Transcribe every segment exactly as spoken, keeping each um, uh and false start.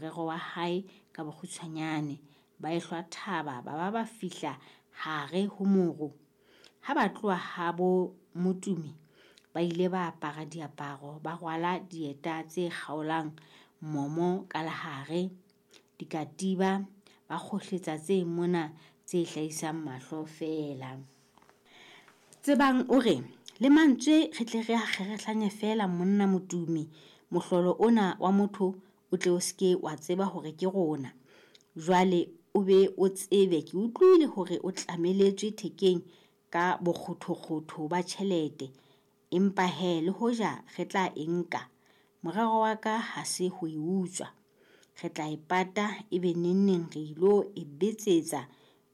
morero wa hae ka bokgutshwanyane. Ba ehlwa thaba ba ba ba fihla hare ho moru. Ha ba tloha habo Motumi ba ile ba apara diaparo, ba rwala dieta tse kgaolang momo ka lehare, dikatiba, ba kgohletsa tse mona tse hlahisang mahlo feela. Tsebang o re, le mantswe re tle re a kgerehlanye feela monna Motumi, mohlolo ona wa motho o tle o seke wa tseba hore ke rona. Jwale o be o tsebe ke utlwile hore o tlameletswe thekeng ka bokgothokgotho ba tjhelete. Empa he le hoja re tla e nka, morero wa ka ha se ho e utswa. Re tla e pata ebe nengneng re ilo e betsetsa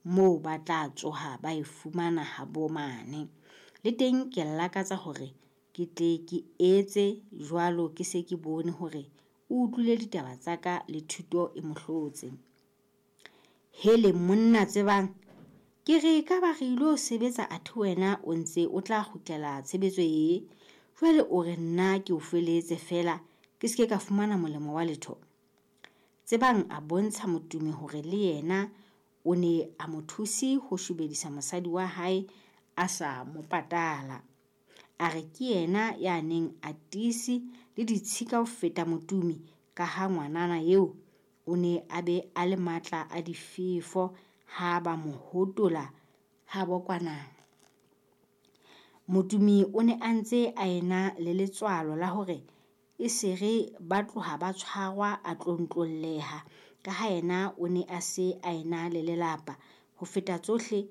moo ba tla tsoha ba e fumana habo mane. Le teng ke lakatsa hore ke tle ke etse jwalo ke se ke bone hore o utlwile ditaba tsa ka le thuto e mo hlotse. Hele monna Tsebang, ke re ka ba re ilo sebetsa athe wena o ntse o tla kgutlela tshebetso e. Jwale o re nna ke o feletse feela ke seke ka fumana molemo wa letho. Tsebang a bontsha Motumi hore le yena o ne a mo thuse ho shobedisa mosadi wa hae a sa mo patala. A re ke yena ya neng a tiise le ditshika ho feta Motumi ka ha ngwanana eo o ne a be a le matla a difefo ha ba mo hotola habo kwana. Motumi o ne a ntse a ena le letswalo la hore e se re ba tloha ba tshwarwa a tlontlolleha ka ha yena o ne a se a ena le lelapa. Ho feta tsohle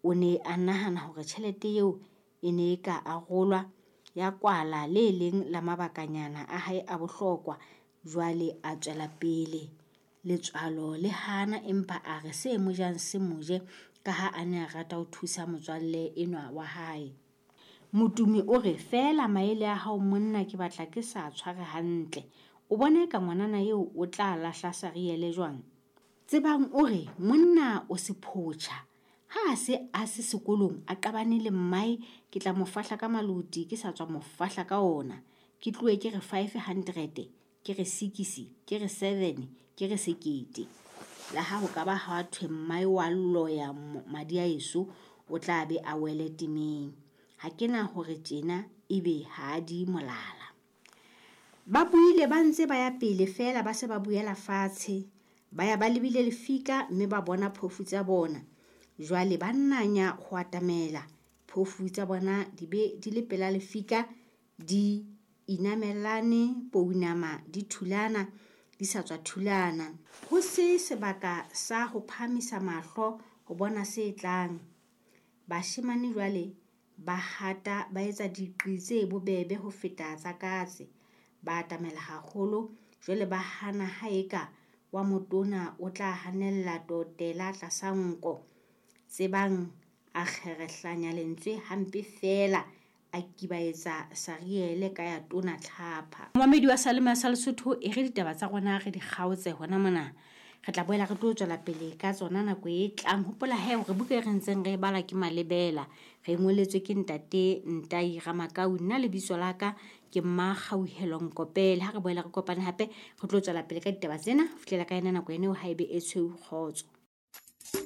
o ne a nahana hore tjhelete eo e ne e ka arolwa ya kwala le leng la mabakanyana a hae a bohlokwa. Jwale a tswela pele. Letswalo le hana empa a re se mo jang se mo je ka ha a ne a rata ho thusa motswalle enwa wa hae. Motumi o re feela maele a hao monna ke batla ke sa tshware hantle. O bona eka ngwanana eo o tla lahla sariele jwang? Tsebang o re monna o sephotjha. Ha a se a se sekolong a qabane le mmae ke tla mo fahla ka maloti ke sa tswa mo fahla ka ona. Ke tlohe ke re five hundred, ke re six, ke re seven, ke re sekete. La ha ho ka ba ha thwe mmae wa loya madi a eso o tla be a wele temeng. Ha ke na hore tjena ebe ha di molala. Ba buile ba ntse ba ya pele feela ba se ba buela fatshe. Ba ya ba lebile lefika mme ba bona phofu tsa bona. Jwale ba nnanya ho atamela. Phofu tsa bona di be di le pela lefika di inamelane pounama di thulana di sa tswa thulana. Ho se sebaka sa ho phahamisa mahlo ho bona se tlang. Bashemane jwale ba hata ba etsa diqi tse bobebe ho feta tsa katse. Ba atamela haholo jwale ba hana ha eka wa motona o tla hanella totela tlasa nko. Tsebang a kgerehlanya lentswe hampe feela a kibaetsa sariele ka ya tona tlhapha. Momamedi wa Salema sa Lesotho e re ditaba tsa rona re di kgaotse hona mona. Re tla boela re tlo tswela pele ka tsona nako e tlang. Hopola he hore buka e re ntseng re e bala ke Malebela. Re ngoletswe ke ntate Ntai Ramakau. Nna lebitso la ka ke Mmakgauhelo Nkopele. Ha re boela re kopane hape re tlo tswela pele ka ditaba tsena. Ho fihlela ka yona nako eno ha ebe e tshweu kgotso.